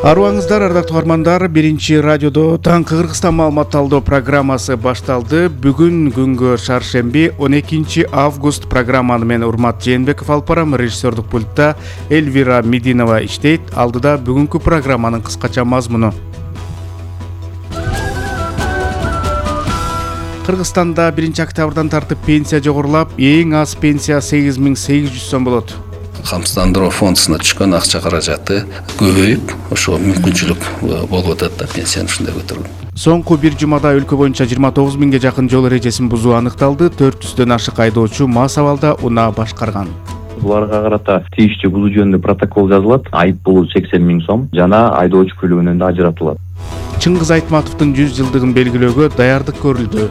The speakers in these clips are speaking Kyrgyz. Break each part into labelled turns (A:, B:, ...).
A: Арыбаңыздар, ардактуу угармандар, биринчи радиодо таңкы Кыргызстан маалымат талдоо программасы башталды. Бүгүн күнгө шаршемби 12 август программаны мен Урмат Жээнбеков алып барам. Режиссердук пультта Эльвира Мединова иштейт. Алдыда бүгүнкү программанын кыскача мазмуну. Кыргызстанда 1 октябрдан тартып пенсия жогорулап, эң аз пенсия 8800 сом болот.
B: Камсыздандыруу фондуна түшкөн акча каражаты көбөйүп, ошого мүмкүнчүлүк болуп атат да пенсияны ушундай көтөрүү.
A: Соңку бир жумада өлкө боюнча 29 миңге жакын жол эрежесин бузуу аныкталды. 400дөн ашык айдоочу мас абалда унаа башкарган.
C: Буларга карата тийиштүү бузуу жөнүндө протокол жазылат. Айып пулу 80 миң сом жана айдоочу көлүгүнөн да ажыратылат.
A: Чыңгыз Айтматовдун 100 жылдыгын белгилөөгө даярдык көрүлдү.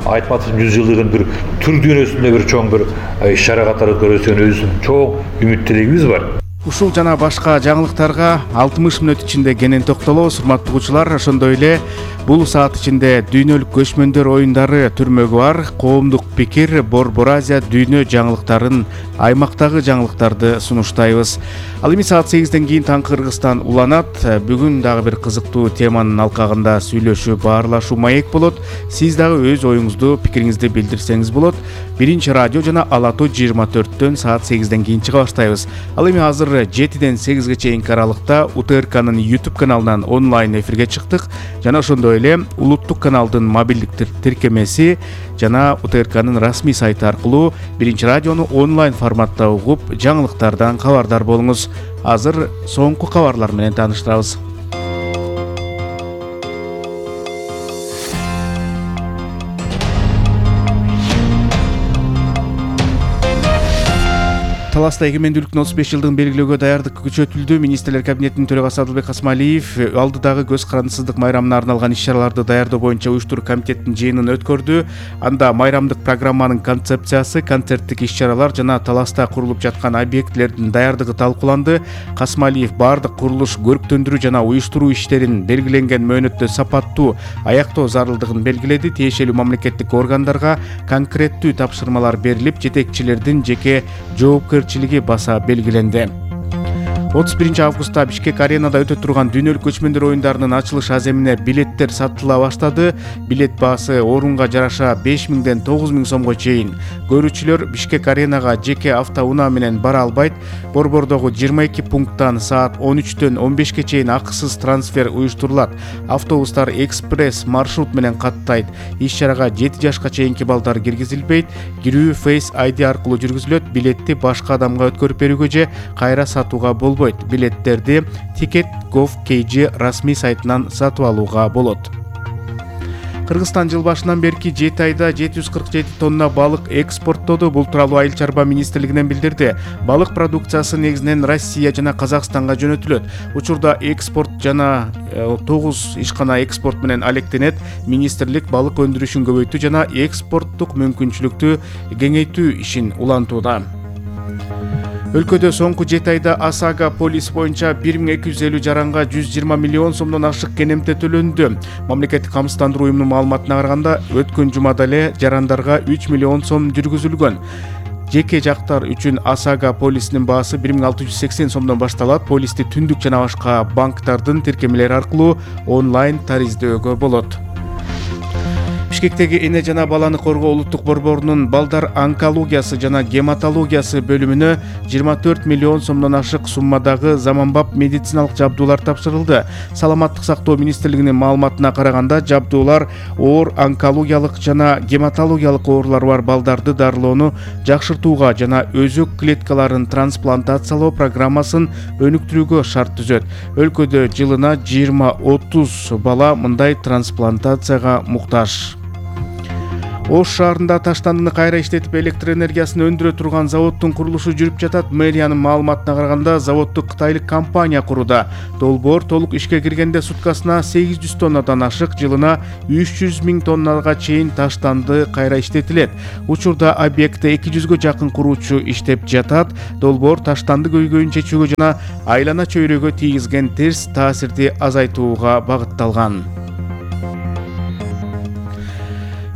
D: Айтматовдун 100 жылдыгын бир түр дүйнөсүндө бир чоң бир иш-чара катары көрөсүн чоң үмүт тилегибиз бар.
A: Ушул жана башка жаңылыктарга 60 мүнөт ичинде кенен токтолобуз. Урматтуу угуучулар, ошондой эле бул саат ичинде дүйнөлүк көчмөндөр оюндары түрмөгү бар, коомдук пикир, Борбор Азия дүйнө жаңылыктарын, аймактагы жаңылыктарды сунуштайбыз. Ал эми саат 8ден кийин таңкы Кыргызстан уланат. Бүгүн дагы бир кызыктуу теманын алкагында сүйлөшүү, баарлашуу маек болот. Сиз дагы өз оюңузду, пикириңизди билдирсеңиз болот. Биринчи радио жана Ала Тоо 24төн саат 8ден кийин чыга баштайбыз. Ал эми азыр 7ден 8ге чейинки аралыкта УТРКнын YouTube каналынан онлайн эфирге чыктык жана ошондой эле улуттук каналдын мобилдик тиркемеси жана УТРКнын расмий сайты аркылуу биринчи радиону онлайн форматта угуп, жаңылыктардан кабардар болуңуз. Азыр соңку кабарлар менен тааныштырабыз. Таласта эгемендүүлүктүн 35 жылдыгын белгилөөгө даярдык күчөтүлдү. Министрлер кабинетинин төрагасы Адылбек Касмалиев алдыдагы көз карандысыздык майрамына арналган иш-чараларды даярдоо боюнча уюштуруу комитетинин жыйынын өткөрдү. Анда майрамдык программанын концепциясы, концерттик иш-чаралар жана таласта курулуп жаткан объектилердин даярдыгы талкууланды. Касмалиев бардык курулуш, көрктөндүрүү жана уюштуруу иштерин белгиленген мөөнөттө сапаттуу аяктоо зарылдыгын белгиледи. Тиешелүү мамлекеттик органдарга конкреттүү тапшырмалар берилип, жетекчилердин жеке жоопкерчилиги баса белгиленди. 31 августта Бишкек аренада өтө турган дүйнөлүк көчмөндөр оюндарынын ачылыш аземине билеттер сатыла баштады. Билет баасы орунга жараша 5000ден 9000 сомго чейин. Көрүүчүлөр Бишкек аренага жеке автоунаа менен бара албайт. Борбордогу 22 пункттан саат 13төн 15ке чейин акысыз трансфер уюштурулат. Автобустар экспресс маршрут менен каттайт. Иш-чарага 7 жашка чейинки балдар киргизилбейт. Кирүү Face ID аркылуу жүргүзүлөт. Билетти башка адамга өткөрүп берүүгө же кайра сатууга болбойт. Билеттерди Ticket.gov.kg расмий сайтынан сатып алууга болот. Кыргызстан жыл башынан берки 7 айда 747 тонна балык экспорттоду. Бул тууралуу Айыл чарба министрлигинен билдирди. Балык продукциясы негизинен Россия жана Казакстанга жөнөтүлөт. Учурда экспорт жана 9 ишкана экспорт менен алектенет. Министрлик балык өндүрүшүн көбөйтүү жана экспорттук мүмкүнчүлүктү кеңейтүү ишин улантууда. Өлкөдө соңку 7 айда Асага полис боюнча 1250 жаранга 120 миллион сомдон ашык кенемте төлөндү. Мамлекеттик камсыздандыруу уюмунун маалыматына караганда, өткөн жумада эле жарандарга 3 миллион сом жүргүзүлгөн. Жеке жактар үчүн Асага полисинин баасы 1680 сомдон башталат. Полисти түндүк жана башка банктардын тиркемелери аркылуу онлайн тариздөөгө болот. Бишкектеги эне жана баланы коргоо улуттук борборунун балдар онкологиясы жана гематологиясы бөлүмүнө 24 миллион сомдон ашык суммадагы заманбап медициналык жабдуулар тапшырылды. Саламаттык сактоо министрлигинин маалыматына караганда, жабдуулар оор онкологиялык жана гематологиялык оорулары бар балдарды дарылоону жакшыртууга жана өзөк клеткаларын трансплантациялоо программасын өнүктүрүүгө шарт түзөт. Өлкөдө жылына 20-30 бала мындай трансплантацияга муктаж. Ош шаарында таштандыны кайра иштетип электр энергиясын өндүрө турган заводдун курулушу жүрүп жатат. Мэриянын маалыматына караганда, заводду кытайлык компания куруда. Долбоор толук ишке киргенде суткасына 800 тоннадан ашык, жылына 300 миң тоннага чейин таштанды кайра иштетилет. Учурда объектте 200гө жакын куруучу иштеп жатат. Долбоор таштанды көйгөйүн чечүүгө жана айлана чөйрөгө тийгизген терс таасирди азайтууга багытталган.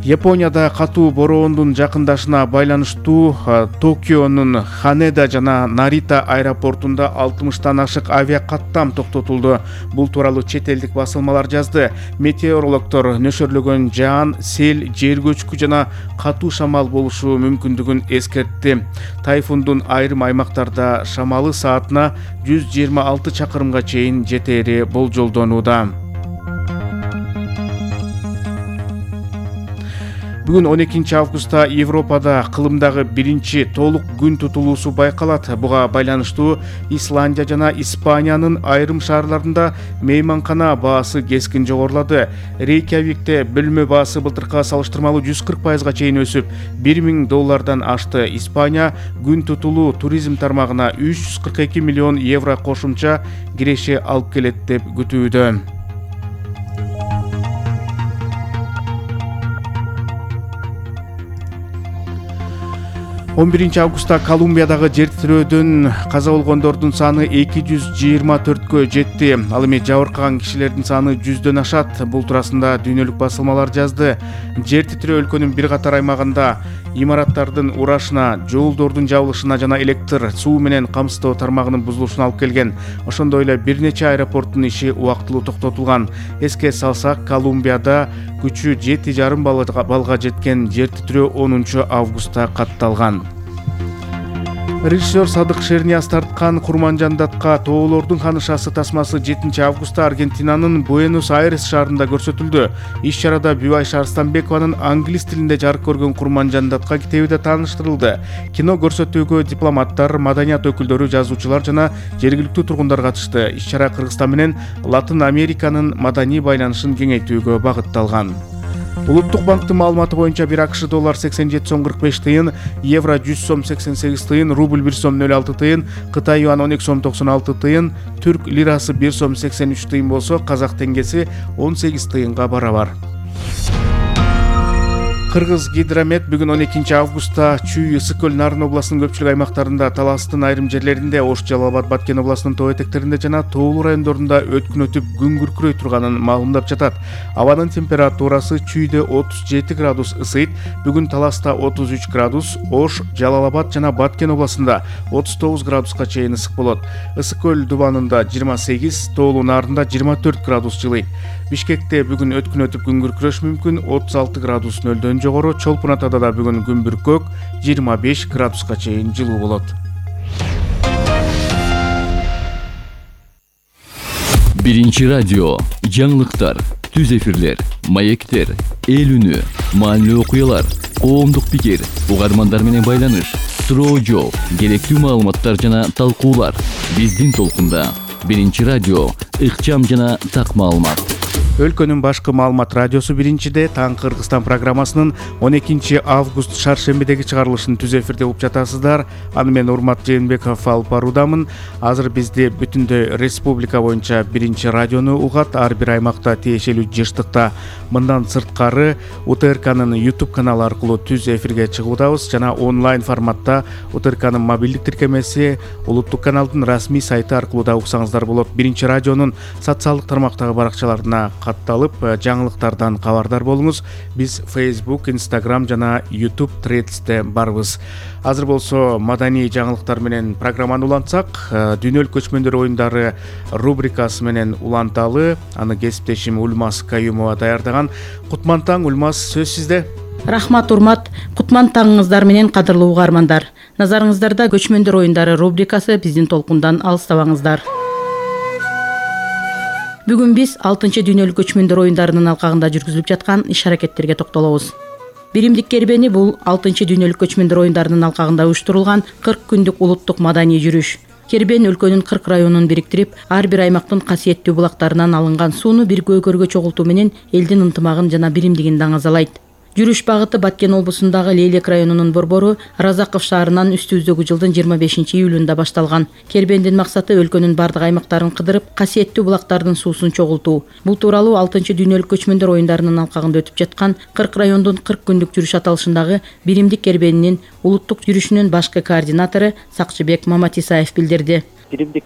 A: Японияда катуу бороондун жакындашына байланыштуу Токионун Ханеда жана Нарита аэропортунда 60тан ашык авиакаттам токтотулду. Бул тууралуу чет элдик басылмалар жазды. Метеорологдор нөшөрлөгөн жаан, сел, жер көчкү жана катуу шамал болушу мүмкүндүгүн эскертти. Тайфундун айрым аймактарда шамалы саатына 126 чакырымга чейин жетери болжолдонууда. Бүгүн 12 августта Европада кылымдагы биринчи толук күн тутулуусу байкалат. Буга байланыштуу Исландия жана Испаниянын айрым шаарларында мейманкана баасы кескин жогорулады. Рейкьявикте бөлмө баасы былтыркыга салыштырмалуу 140%га чейин өсүп, $1000 ашты. Испания күн тутулуу туризм тармагына 342 миллион евро кошумча киреше алып келет деп күтүүдө. 11 августта Колумбиядагы жер титирөөдөн каза болгондордун саны 224кө жетти. Ал эми жабыркаган кишилердин саны 100дөн ашат. Бул туурасында дүйнөлүк басылмалар жазды. Жер титирөө өлкөнүн бир катар аймагында имараттардын урашына, жолдордун жабылышына жана электр, суу менен камсыздоо тармагынын бузулушуна алып келген. Ошондой эле бир нече аэропорттун иши убактылуу токтотулган. Эске салсак, Колумбияда күчү 7,5 балга жеткен жер титирөө 10 августта катталган. Режиссер Садык Шернияз тарткан Курманжандатка тоолордун ханышасы тасмасы 7 августта Аргентинанын Буэнос-Айрес шаарында көрсөтүлдү. Иш-чарада Бүбайша Арстанбекованын англис тилинде жарык көргөн Курманжандатка китеби да тааныштырылды. Кино көрсөтүүгө дипломаттар, маданият өкүлдөрү, жазуучулар жана жергиликтүү тургундар катышты. Иш-чара Кыргызстан менен Латын Американын маданий байланышын кеңейтүүгө багытталган. Улуттук банктын маалыматы боюнча бир АКШ доллар 87 сом 45 тыйын, евро 100 сом 88 тыйын, рубль 1 сом 06 тыйын, Кытай юан 12 сом 96 тыйын, түрк лирасы 1 сом 83 тыйын болсо, казак теңгеси 18 тыйынга барабар. Кыргыз Гидромет бүгүн 12 августта Чүй, Ысык көл, Нарын областынын көпчүлүк аймактарында, Таластын айрым жерлеринде, Ош, Жалал-Абад, Баткен областынын тоо этектеринде жана тоолуу райондорунда өткүн өтүп күн күркүрөй турганын маалымдап жатат. Абанын температурасы Чүйдө 37 градус ысыйт, бүгүн Таласта 33 градус, Ош, Жалал-Абад жана Баткен областында 39 градуска чейин ысык болот. Ысык көл дубанында 28, тоолуу Нарында 24 градус жылыйт. Бишкекте бүгүн өткүн өтүп күн күркүрөш мүмкүн, 36 градус нөлдөн жогору. Чолпун Атада да бүгүн күн бүркөк, 25 градуска чейин жылуу болот.
E: Биринчи радио, жаңылыктар, түз эфирлер, маектер, эл үнү, маанилүү окуялар, коомдук пикир, угармандар менен байланыш, суроо жооп, керектүү маалыматтар жана талкуулар. Биздин толкунда. Биринчи радио, ыкчам жана так маалымат.
A: Өлкөнүн башкы маалымат радиосу биринчиде Таң Кыргызстан программасынын 12 август шаршембидеги чыгарылышын түз эфирде угуп жатасыздар. Аны мен Урмат Жээнбеков алып баруудамын. Азыр бизди бүтүндөй республика боюнча биринчи радиону угат, ар бир аймакта тиешелүү жыштыкта. Мындан сырткары УТРКнын YouTube каналы аркылуу түз эфирге чыгуудабыз жана онлайн форматта УТРКнын мобилдик тиркемеси, улуттук каналдын расмий сайты аркылуу да уксаңыздар болот. Биринчи радионун социалдык тармактагы баракчаларына катталып, жаңылыктардан кабардар болуңуз. Биз Facebook, Instagram жана YouTube Threads'те барбыз. Азыр болсо маданий жаңылыктар менен программаны улантсак, дүйнөлүк көчмөндөр оюндары рубрикасы менен уланталы. Аны кесиптешим Ульмас Каюмова даярдаган. Кутман таң, Ульмас, сөз сизде.
F: Рахмат, Урмат. Кутман таңыңыздар менен кадырлуу угармандар. Назарыңыздарда көчмөндөр оюндары рубрикасы, биздин толкундан алыстабаңыздар. Бүгүн биз 6-чы дүйнөлүк көчмөндөр оюндарынын алкагында жүргүзүлүп жаткан иш-аракеттерге токтолобуз. Биримдик кербени бул 6-чы дүйнөлүк көчмөндөр оюндарынын алкагында уюштурулган 40 күндүк улуттук маданий жүрүш. Кербен өлкөнүн 40 районун бириктирип, ар бир аймактын касиеттүү булактарынан алынган сууну бир көйгөргө чогултуу менен элдин ынтымагын жана биримдигин даңазалайт. Жүрүш багыты Баткен облусундагы Лейлек районунун борбору Разаков шаарынан үстүбүздөгү жылдын 25 июлунда башталган. Кербендин максаты өлкөнүн бардык аймактарын кыдырып, касиеттүү булактардын суусун чогултуу. Бул тууралуу 6-чы дүйнөлүк көчмөндөр оюндарынын алкагында өтүп жаткан 40 райондун 40 күндүк жүрүш аталышындагы биримдик кербенинин улуттук жүрүшүнүн башкы координатору Сакчыбек Маматисаев билдирди.
G: Биримдик